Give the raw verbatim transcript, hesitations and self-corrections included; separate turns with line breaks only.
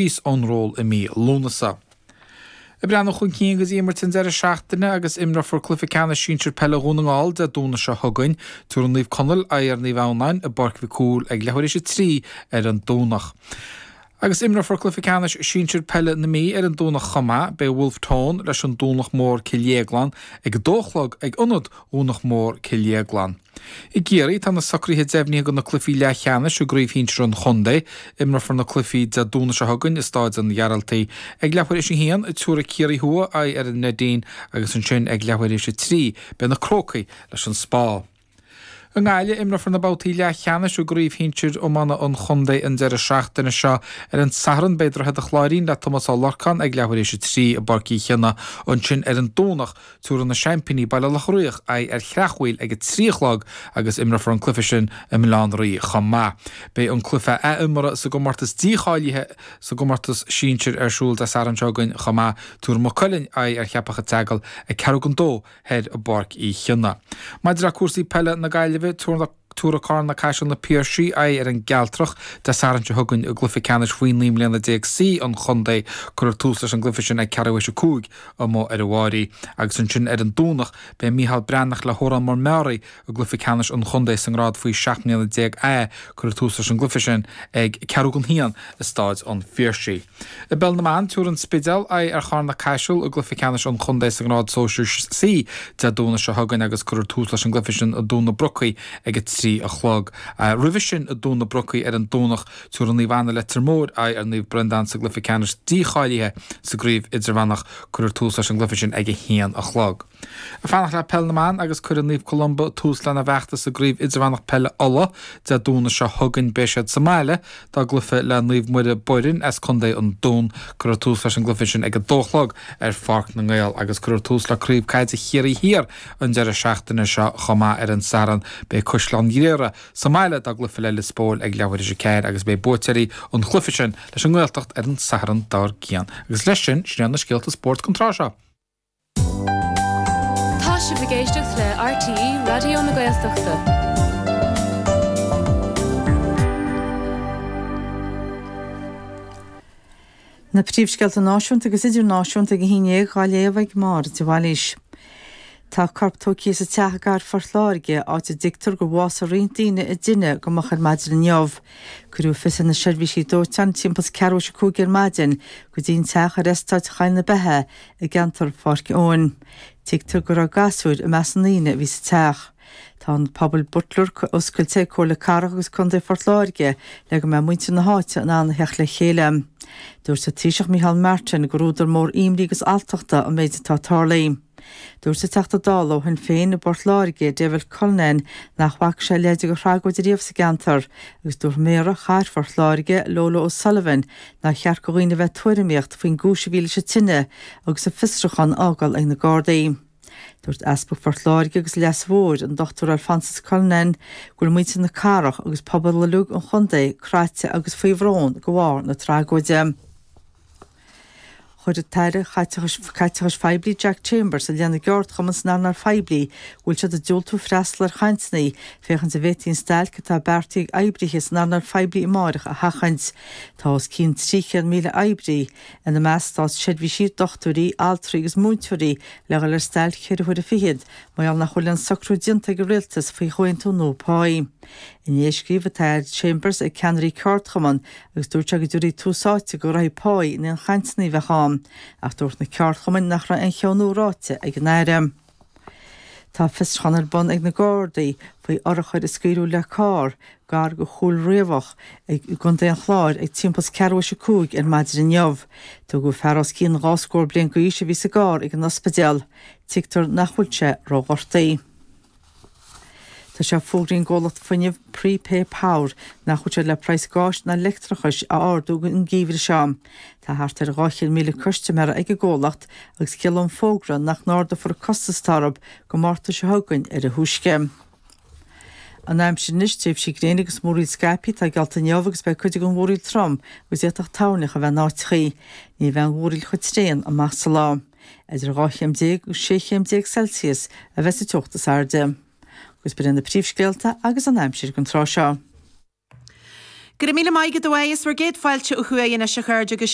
síos ón ról i mí Lúnasa. Ag breathnú chun cinn go dtí imirt an deireadh seachtaine agus imreofar cluiche ceannais sinsir peile Dhún na nGall Dé Domhnaigh seo chugainn. Tabharfaidh Naomh Conaill aghaidh ar Naomh Adhamhnáin i bPáirc Mhic Cumhaill ag leathuair théis a trí ar an Domhnach. Agus imreofar cluiche ceannais sinsir peile na Mí ar an Domhnach chomh maith. Beidh Wolfe Tone leis an Domhnach Mór Cill Dhéagláin ag a dó a chlog ag Ionad Dhomhnach Mór Cill Dhéagláin. I gCiarraí, tá na socruithe deimhnithe do na cluichí leathcheannais i gcraobh shinsir an chontae. Imreofar na cluichí Dé Domhnaigh seo chugainn i Stáid an Ghearaltaigh. Ag leathuair théis a haon, tabharfaidh Ciarraí Thuaidh aghaidh ar an Neidín agus ansin ag leathuair théis a trí, beidh na Crócaigh leis an Spá. I nGaillimh, imreofar na babhtaí leathcheannais i gcraobh shinsir iomána an chontae an deireadh seachtaine seo. Ar an Satharn, beidh Droichead an Chláirín le Tomás Ó Lorcáin ag leathuair théis a trí i bPáirc Uí Chionnaith. Ansin ar an Domhnach, tabharfaidh na seaimpíní Baile Locha Riach aghaidh ar Chreachmhaoil ag a trí a chlog agus imreofar an cluiche sin i mBaile Átha an Rí chomh maith. Beidh an cluiche athimeartha sa gcomórtas dícháilithe sa gcomórtas sinsir ar siúl Dé Sathairn seo chugainn chomh maith. Tabharfaidh Maigh Cuilinn aghaidh ar Cheapach an tSeagail ag ceathrú don dó thoir i bPáirc Uí Chionnaith. Maidir le cúrsaí peile na Gaillimhe, tabharfaidh Carna Caiseal na Piarsaigh aghaidh ar an gCealtrach Dé Sathairn seo chugainn i gcluiche ceannais faoi naoi mbliana déag C an chontae. Cuirfear tús leis an gcluiche sin ag ceathrú théis a cúig amuigh ar an bhFáirí. Agus ansin ar an Domhnach, beidh Micheál Breathnach le hÓrán Mór Meáraí i gcluiche ceannais an chontae sa ngrád faoi seacht mbliana déag A. Cuirfear tús leis an gcluiche sin ag ceathrú don haon i Stáid an Phiarsaigh. I bPeil na mBan, tabharfaidh an Spidéal aghaidh ar Charna Caiseal i gcluiche ceannais an chontae sa ngrád sóisir C Dé Domhnaigh seo chugainn agus cuirfear tús leis an gcluiche sin i dTóin na Brocaí ag a trí a chlog. Roimhe sin i dTóin na Brocaí ar an Domhnach, tabharfaidh Naomh Anna Leitir Móir aghaidh ar Naomh Breandán sa gcluiche ceannais dícháilithe sa gcraobh idirmheánach. Cuirfear tús leis an gcluiche sin ag a haon a chlog. Ag fanacht le Peil na mBan agus cuirfidh Naomh Columba tús lena bhfeachtas i gCraobh Idirmheánach Peile Uladh Dé Domhnaigh seo chugainn. Beidh siad sa mbaile dá gcluiche le Naomh Muire Boirinn as Contae an Dúin. Cuirfear tús leis an gcluiche sin ag a dó a chlog ar Pháirc na nGael agus cuirfear tús le Craobh Caide Chiarraí Thiar an deireadh seachtaine seo chomh maith ar an Satharn. Beidh Caisleán Ghriaire sa mbaile dá gcluiche le Lios Póil ag leathuair théis a ceathair agus beidh buaiteoirí an chluiche sin leis an nGaeltacht ar an Satharn dár gcionn. Agus leis sin, sin iad na scéalta spóirt don tráth seo.
Tá sibh ag éisteacht le RTÉ Raidió na Gaeltachta.
Na príomhscéalta náisiúnta agus idirnáisiúnta ag a haon déag á léamh ag Máire de Bhailís. Tá corp tógtha as teach i gcathair Phort Láirge, áit a dtuigtear gur bhásaigh roinnt daoine i dtine go moch ar maidin inniu. Cuireadh fios ar na seirbhísí dóiteáin timpeall is ceathrú théis a cúig ar maidin go dtí an teach ar eastát Choill na Beithe i gceantar Pháirc Eoin. Tuigtear go raibh gasúir i measc na ndaoine a bhí sa teach. Tá an Puball Butler oscailte ag Comhairle Cathrach agus Contae Phort Láirge le go mbeidh muintir na háite in ann a theacht le chéile. Dúirt an Taoiseach Micheál Martin gur údar mór imní agus alltachta an méid atá tarlaithe. Dúirt an Teachta Dála ó Shinn Féin i bPort Láirge, David Cullinane, nach bhfaca sé a leithéid de thragóid riamh sa gceantar agus dúirt Méara Chathair Phort Láirge, Lola O'Sullivan, nár cheart do dhaoine a bheith ag tuairimíocht faoin gcúis a bhí leis an tine agus an fiosrúchán á fhágáil ag na Gardaí. Dúirt Easpag Phort Láirge agus Leasa Mhóir, an Dochtúir Alphonsus Cullinane, go bhfuil muintir na cathrach agus pobal uilig an chontae craite agus faoi bhrón de bharr na tragóide. Chuir an tAire Caiteachais Phoiblí Jack Chambers i leith na gceardchumann san earnáil phoiblí go bhfuil siad ag diúltú freastal ar chainteanna féachaint an bhféadfaí an stailc atá beartaithe ag oibrithe san earnáil phoiblí amáireach a sheachaint. Tá os cionn trí chéad míle oibrí, ina measc státseirbhísigh, dochtúirí, altraí agus múinteoirí, le dhul ar stailc ceithre huaire fichead mar gheall nach bhfuil aon socrú déanta ag an rialtas faoi chomhaontú nua páí. Inné scríobh an tAire Chambers ag ceannairí ceardchumann agus dúirt sé go dtabharfaí tús áite do ghraithí páí in aon chainteanna a bheadh ann, ach dúirt na ceardchumainn nach raibh aon cheo nua ráite ag an Aire. Tá fiosrúchán ar bun ag na Gardaí faoi urchar a scaoileadh le carr gar do Chúil Riabhach i gContae an Chláir ag timpeall is ceathrú théis a cúig ar maidin inniu. Tugadh fear os cionn dhá scór bliain d'aois a bhí sa gcarr ag an ospidéal. Tuigtear nach bhfuil sé róghortaithe. Tá sé fógraithe ag an gcomhlacht fuinnimh Prepay Power nach bhfuil siad le praghas gáis ná leictreachais a ardú an geimhreadh seo. Tá thart ar dhá chéad míle custaiméara ag an gcomhlacht agus ciallaíonn an fógra nach n-ardófar an costas atá orthu go Márta seo chugainn ar a thúisce. An aimsir anois, tréimhsí gréine agus múraíl scaipthe atá geallta inniu agus beidh cuid den mhúraíl trom agus d'fhéadfadh toirneach a bheith in áiteachaí. Ní bheidh an mhúraíl chomh tréan amach sa lá. Idir dhá chéim déag agus sé chéim déag Celsius a bheas an teocht is airde. Agus b'in iad na príomhscéalta agus an aimsir don tráth seo.
Go raibh míle maith agat a Mháire, is bhur gcéad fáilte ó thuaidh anois a chairde agus